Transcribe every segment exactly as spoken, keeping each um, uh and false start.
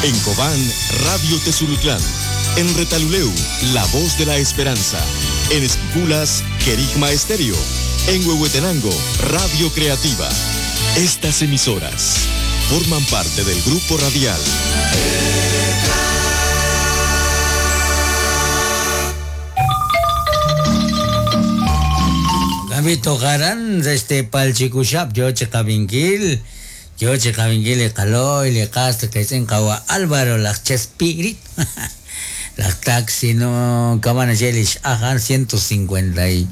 En Cobán, Radio Tezulutlán. En Retaluleu, La Voz de la Esperanza. En Esquipulas, Querigma Estéreo. En Huehuetenango, Radio Creativa. Estas emisoras forman parte del grupo radial Gabito Garan, este palchikushap, yo chikabinkil, yo chikabinkil, kaloy, le cast, que se encawa Álvaro, las Chespirit, las taxi, no, cabana yelish, ajan, ciento cincuenta y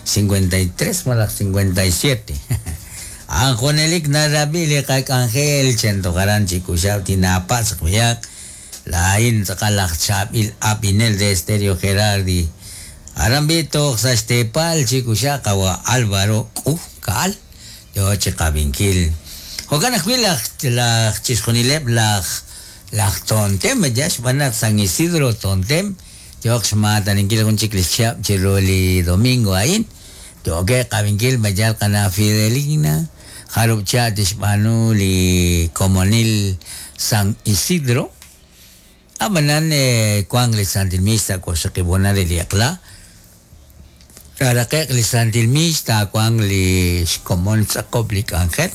cincuenta y tres, más cincuenta y siete. Anjonelik narabili kak Ángel, chento garan chikushap, tinapas, kuyak, la in, sakalak chapil, apinel de Estéreo Gerardi. Arambito, Sastepal, Chikushakawa, Álvaro, Kal, yo Chikabinkil. Hogan Huilach, la Chisconilep, la Tontem, Yash, Banak, San Isidro, Tontem, Yoxmataninquil, un chiclichap, Chiroli, Domingo, ahí, yo que Cabinquil, Mayal, Cana Fidelina, Jarupchat, Ishmanuli, Comonil, San Isidro, Abanan, Cuangle, Santilmista, cosa que buena de Liacla. Rarakek li Santilmis ta kwang li komon sa koblik angel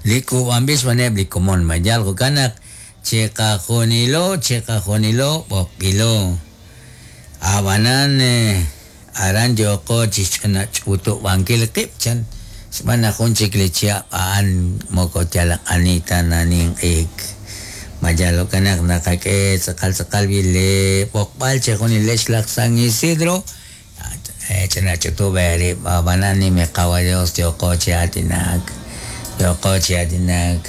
li kuambis maneb li komon mayal ko kanak cheka jonilo cheka jonilo bokilo abanan aran yoko chichana chuto bangkil kipchan mana kunchik li chia an moko tialak anita naning ik mayalo kanak nakake sakal sakal bile bokbal chejonile shlak San Isidro Chenachutuberi, banani me caballos, yo coche atinak, yo coche atinak,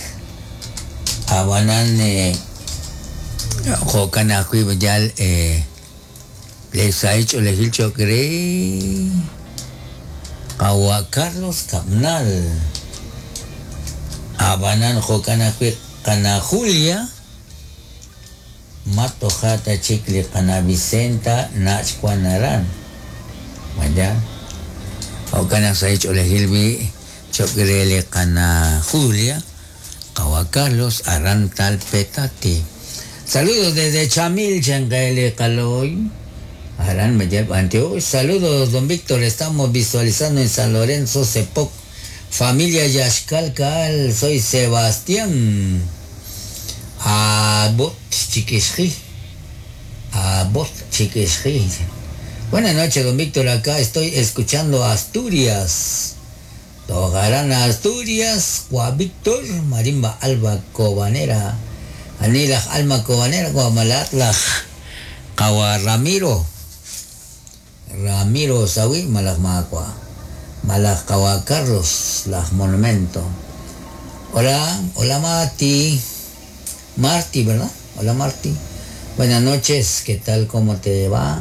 abanane, jocana cuibuyal, eh, les ha hecho, les hecho creer, Kawa Carlos Capnal, abanan jocana cana Julia, Matojata chicle cana Vicenta, Nachcuanarán. Vaya, o se ha hecho elegir chocrele cana Julia, Kawa Carlos Arrantal Petati. Saludos desde Chamil, Changaele Caloy. Arán me lleva antio. Saludos, don Víctor. Estamos visualizando en San Lorenzo, Cepoc. Familia Yaxcalcal, soy Sebastián. Abot Chiquisji. Abot Chiquisji. Buenas noches, don Víctor. Acá estoy escuchando Asturias. Togarán Asturias, Juan Víctor, Marimba Alba Cobanera, Anila Alma Cobanera, Guamalatlaj, Kawa Ramiro, Ramiro Sawi, Malajmacua, Malaj Kawa Carlos, Laj Monumento. Hola, hola Marti, Marti, ¿verdad? Hola Marti. Buenas noches, ¿qué tal? ¿Cómo te va?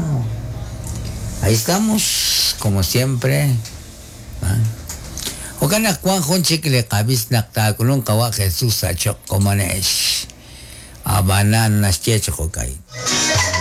Ahí estamos, como siempre. Ocana Juan Jonchik le cabis nactaculun kawa Jesús achok comanesh. Abanan naschecho kai.